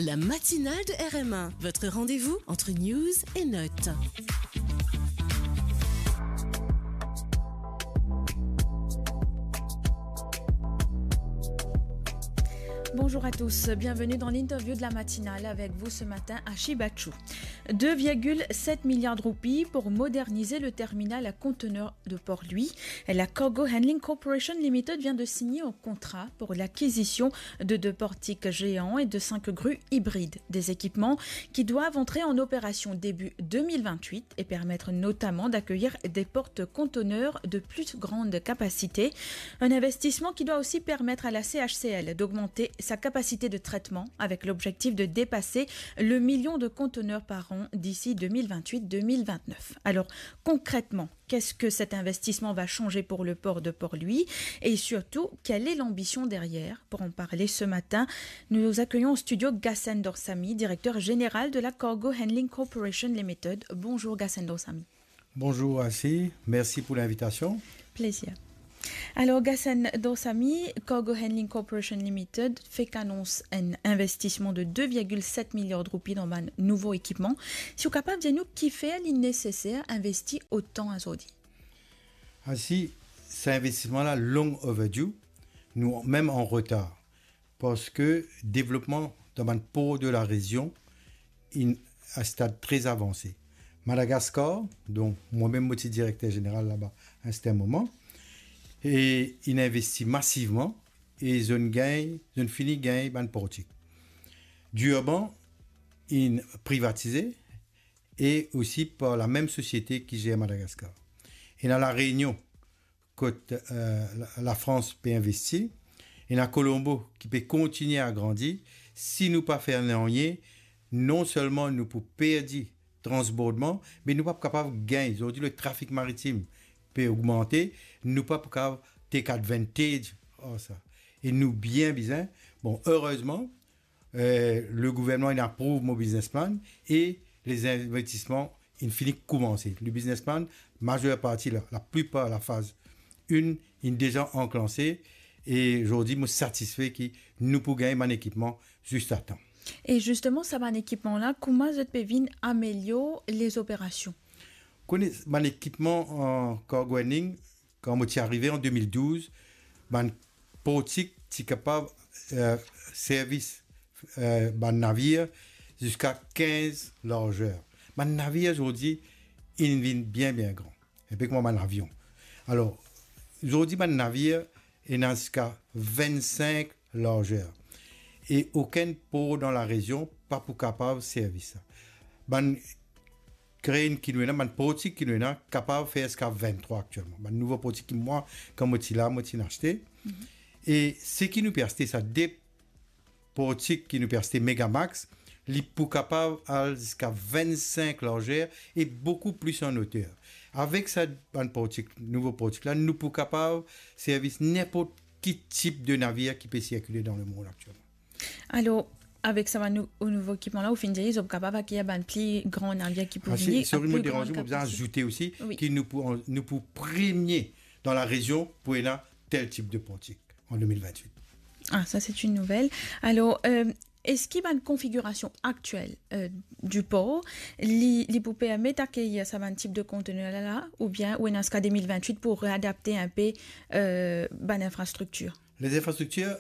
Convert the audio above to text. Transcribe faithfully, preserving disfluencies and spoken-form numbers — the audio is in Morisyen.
La matinale de R M un, votre rendez-vous entre news et notes. Bonjour à tous, bienvenue dans l'interview de la matinale avec vous ce matin, Ashi Bachou. Deux virgule sept milliards de roupies pour moderniser le terminal à conteneurs de Port-Louis. La Cargo Handling Corporation Limited vient de signer un contrat pour l'acquisition de deux portiques géants et de cinq grues hybrides. Des équipements qui doivent entrer en opération début deux mille vingt-huit et permettre notamment d'accueillir des porte-conteneurs de plus grande capacité. Un investissement qui doit aussi permettre à la C H C L d'augmenter sa capacité de traitement avec l'objectif de dépasser le million de conteneurs par an d'ici deux mille vingt-huit deux mille vingt-neuf. Alors, concrètement, qu'est-ce que cet investissement va changer pour le port de Port-Louis ? Et surtout, quelle est l'ambition derrière ? Pour en parler ce matin, nous accueillons au studio Gassen Dorsami, directeur général de la Cargo Handling Corporation Limited. Bonjour Gassen Dorsami. Bonjour Ashi, merci pour l'invitation. Plaisir. Alors, Gassen Dorsami, Cargo Handling Corporation Limited fek anons enn investisman de deux virgule sept milliards de roupies dan bann nouvo ekipman. Si ou kapav dir nou kifer li neseser investi otan azordi? Ashi, sa investisman la long overdue, nou mem an retar, parski devlopman dan bann por de la rezion inn a stad tre avanse. Madagaskar, donk mwa mem mo ti direkter zeneral laba a serten moman, e inn investi masivman e zot inn gagn, zot inn fini gagn bann portik. Durban inn privatize e osi par la mem sosiete ki zer Madagaskar. Ena La Reunion, kot, eh, la, Lafrans pe investi, ena Colombo ki pe kontigne agrandi. Si nou pa fer nanye, non selman nou pou perdi transbordman, me nou pa pou kapav gagn. Zordi, le trafik maritim pe ogmante, nou pa pou kapav take advantage ar sa. E nou bien bizin, bon, erezman, eh, le gouvernman inn aprouv mo business plan e les investisman inn fini koumanse. Le business plan, mazer parti, la, laplipar lafaz enn inn deza anklanse e zordi mo satisfe ki nou pou gagn bann ekipman zis a tan. E zisteman, sa bann ekipman la, kouma zot pe vinn amelior lezoperasion? Kone, bann ekipman an cargo handling, kan mo ti arive an de mil douz, bann portik ti kapav, eh, servi, eh, bann navir ziska kinz larzer. Bann navir zordi inn vinn bien, bien gran, inpe kouma bann avion. Alor, zordi bann navir ena ziska vinn-sink larzer. E okenn por dan larezion pa pou kapav servi sa. Bann krenn ki nou ena, bann portik ki nou ena, kapav fer ziska vinn-trwa aktielman. Bann nouvo portik ki mwa, kan mo ti la, mo ti inn aste. Mhm. E seki nou pe aste, sa de portik ki nou pe aste Megamax, li pou kapav al ziska vinn-sink larzer e boukou plis an oter. Avek sa bann portik, nouvo portik la, nou pou kapav servi ninport ki tip de navir ki pe sirkile dan lemond aktielman. Alor, avek sa bann nou-, nouvo ekipman la, ou finn dir, zot kapav akeyir bann pli gran navir ki pou vini, sori, mo deranz ou, mo bizin azoute osi ki nou pou, nou pou premie dan larezion pou ena tel tip de portik an de mil vinn-wit. Ah, ça, c'est une nouvelle. Alors, euh, eski bann konfigirasion aktiel, euh, du port, li, li pou permet akeyir sa bann tip de kontener la, oubien ou ena ziska de mil vinn-wit pou readapte inpe, euh, bann infrastriktir? Les infrastructures,